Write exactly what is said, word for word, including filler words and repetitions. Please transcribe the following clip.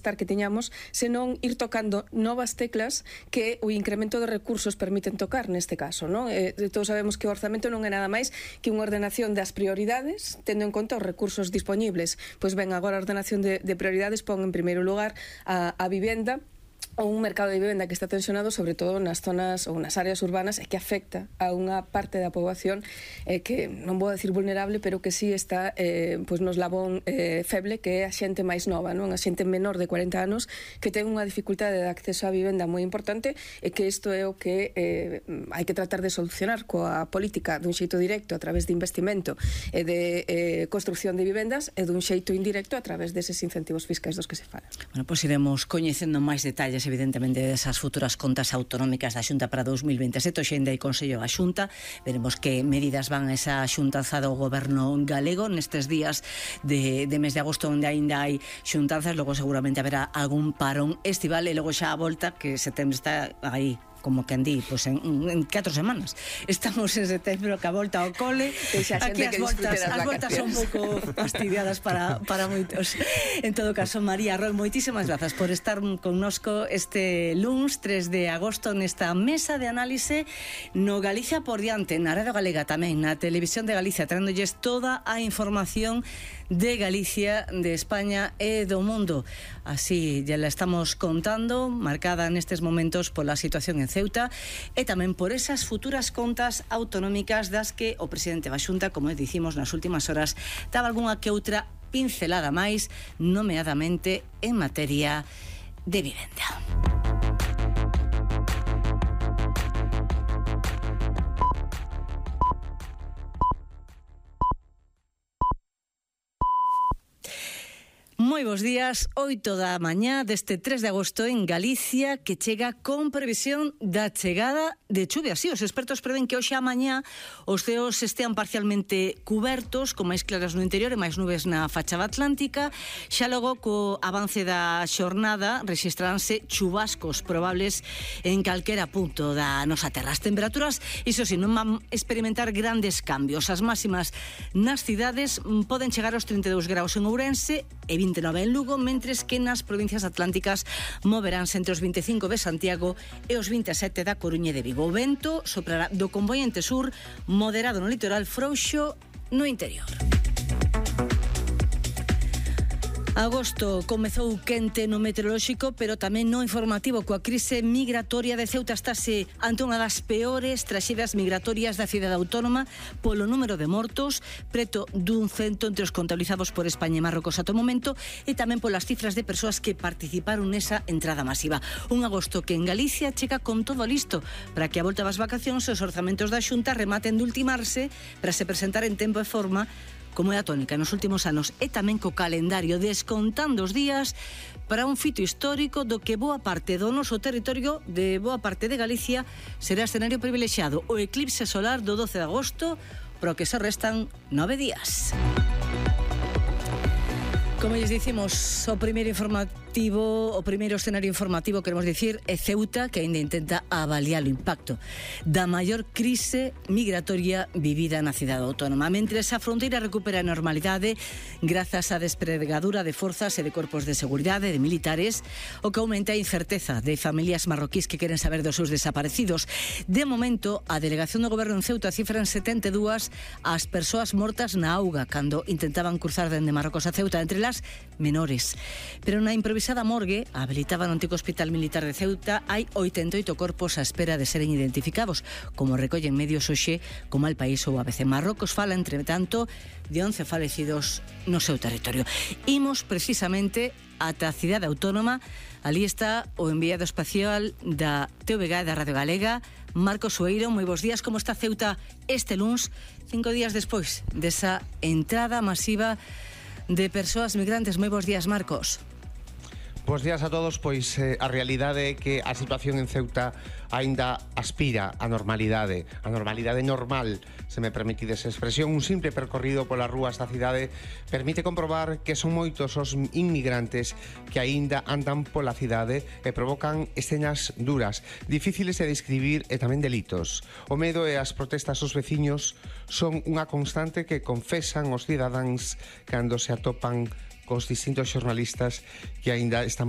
que teñamos, senón ir tocando novas teclas que o incremento de recursos permiten tocar neste caso, non? Eh, todos sabemos que o orzamento non é nada máis que unha ordenación das prioridades, tendo en conta os recursos disponibles. Pois ben, agora a ordenación de, de prioridades pon en primeiro lugar a, a vivenda, ou un mercado de vivenda que está tensionado sobre todo nas zonas ou nas áreas urbanas e que afecta a unha parte da poboación eh, que non vou decir vulnerable, pero que sí está eh, pois nos labón eh, feble, que é a xente máis nova, non? A xente menor de cuarenta anos que ten unha dificultade de acceso á vivenda moi importante e que isto é o que eh, hai que tratar de solucionar coa política dun xeito directo a través de investimento e de eh, construcción de vivendas e dun xeito indirecto a través deses incentivos fiscais dos que se fala. Bueno, pois iremos coñecendo máis detalles evidentemente desas futuras contas autonómicas da Xunta para dous mil veintesete. Hoxe ainda hai Consello da Xunta, veremos que medidas van a esa xuntanza do goberno galego nestes días de, de mes de agosto, onde ainda hai xuntanzas. Logo seguramente haberá algún parón estival e logo xa a volta, que setembro está aí como que andí, pois en, en catro semanas. Estamos en setembro, que a volta ao cole. Aquí as voltas, as voltas son un pouco fastidiadas para, para moitos. En todo caso, María Roy, moitísimas grazas por estar connosco este luns tres de agosto nesta mesa de análise no Galicia por diante, na Radio Galega tamén, na Televisión de Galicia, traéndolles toda a información de Galicia, de España e do mundo. Así ya la estamos contando, marcada nestes momentos pola situación en Ceuta e tamén por esas futuras contas autonómicas das que o presidente da Xunta, como dicimos nas últimas horas, daba algunha que outra pincelada máis, nomeadamente en materia de vivenda. Moi bons días, oito da mañá deste tres de agosto en Galicia, que chega con previsión da chegada de chuvia. Sí, os expertos prevén que hoxe a mañá os ceos estean parcialmente cubertos, con máis claras no interior e máis nubes na fachada atlántica. Xa logo, co avance da xornada, rexistraránse chubascos probables en calquera punto da nosa terra. As temperaturas, iso si, non van experimentar grandes cambios. As máximas nas cidades poden chegar aos trinta e dous graus en Ourense e vinte e nove en Lugo, mentres que nas provincias atlánticas moveránse entre os vinte e cinco de Santiago e os vinte e sete da Coruña e de Vigo. O vento soprará do compoñente sur, moderado no litoral, frouxo no interior. Agosto comezou quente no meteorolóxico, pero tamén no informativo, coa crise migratoria de Ceuta. Estase ante unha das peores traxedias migratorias da cidade autónoma polo número de mortos, preto dun cento entre os contabilizados por España e Marrocos ata o momento, e tamén polas cifras de persoas que participaron nesa entrada masiva. Un agosto que en Galicia chega con todo listo para que a volta das vacacións os orzamentos da Xunta rematen de ultimarse para se presentar en tempo e forma, como é a tónica nos últimos anos, e tamén co calendario descontando os días para un fito histórico do que boa parte do noso territorio, de boa parte de Galicia, será escenario privilexiado, o eclipse solar do doce de agosto, pro que se restan nove días. Como lles dicimos, o primeiro informativo, o primeiro escenario informativo, queremos dicir, é Ceuta, que ainda intenta avaliar o impacto da maior crise migratoria vivida na cidade autónoma. Mentres a fronteira recupera a normalidade grazas á despregadura de forzas e de corpos de seguridade, de militares, o que aumenta a incerteza de familias marroquís que queren saber dos seus desaparecidos. De momento, a delegación do goberno en Ceuta cifra en setenta e dúas as persoas mortas na auga cando intentaban cruzar dende Marrocos a Ceuta, entre las menores. Pero na improvisada morgue, habilitada no antigo Hospital Militar de Ceuta, hai oitenta e oito corpos á espera de seren identificados, como recollen medios hoxe como El País ou A B C. Marrocos fala, entre tanto, de once falecidos no seu territorio. Imos precisamente ata a cidade autónoma. Ali está o enviado espacial da T V G, da Radio Galega, Marcos Sueiro. Moi bons días, como está Ceuta este luns, cinco días despois desa entrada masiva de persoas migrantes? Moi bons días, Marcos. Bos días a todos. Pois eh, a realidade é que a situación en Ceuta aínda aspira á normalidade. A normalidade normal, se me permitides a expresión. Un simple percorrido polas rúas da cidade permite comprobar que son moitos os inmigrantes que aínda andan pola cidade e provocan escenas duras, difíciles de describir e tamén delitos. O medo e as protestas dos veciños son unha constante que confesan os cidadáns cando se atopan cos distintos xornalistas que aínda estamos